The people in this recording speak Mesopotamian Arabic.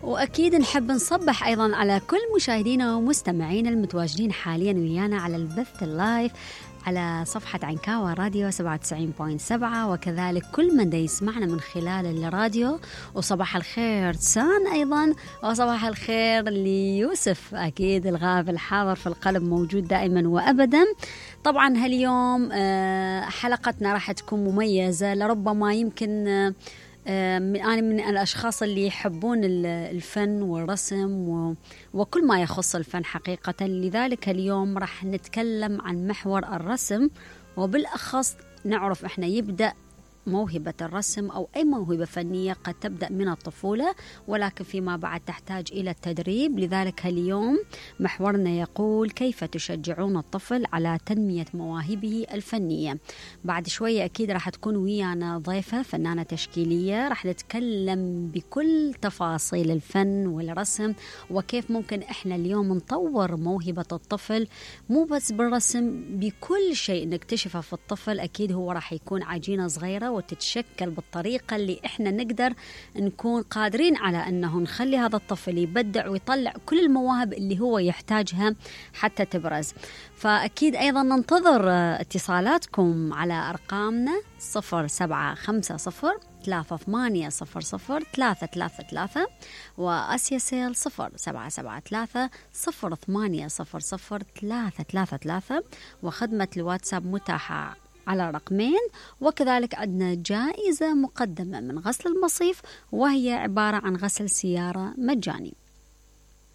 وأكيد نحب نصبح أيضا على كل مشاهدينا ومستمعينا المتواجدين حاليا ويانا على البث اللايف على صفحة عنكاوى راديو 97.7، وكذلك كل من يسمعنا من خلال الراديو. وصباح الخير سان أيضا، وصباح الخير ليوسف أكيد الغاب الحاضر في القلب موجود دائما وأبدا. طبعا هاليوم حلقتنا راح تكون مميزة، لربما يمكن أنا من الأشخاص اللي يحبون الفن والرسم وكل ما يخص الفن حقيقة. لذلك اليوم راح نتكلم عن محور الرسم، وبالأخص نعرف إحنا يبدأ موهبة الرسم أو أي موهبة فنية قد تبدأ من الطفولة، ولكن فيما بعد تحتاج إلى التدريب. لذلك اليوم محورنا يقول: كيف تشجعون الطفل على تنمية مواهبه الفنية؟ بعد شوية أكيد راح تكون ويانا ضيفة فنانة تشكيلية، راح نتكلم بكل تفاصيل الفن والرسم وكيف ممكن إحنا اليوم نطور موهبة الطفل، مو بس بالرسم، بكل شيء نكتشفه في الطفل. أكيد هو راح يكون عجينة صغيرة وتتشكل بالطريقة اللي إحنا نقدر نكون قادرين على أنه نخلي هذا الطفل يبدع ويطلع كل المواهب اللي هو يحتاجها حتى تبرز. فأكيد أيضا ننتظر اتصالاتكم على أرقامنا 0750-3800-333 وآسيا سيل 0773-080-00333، وخدمة الواتساب متاحة على رقمين. وكذلك عندنا جائزة مقدمة من غسل المصيف، وهي عبارة عن غسل سيارة مجاني.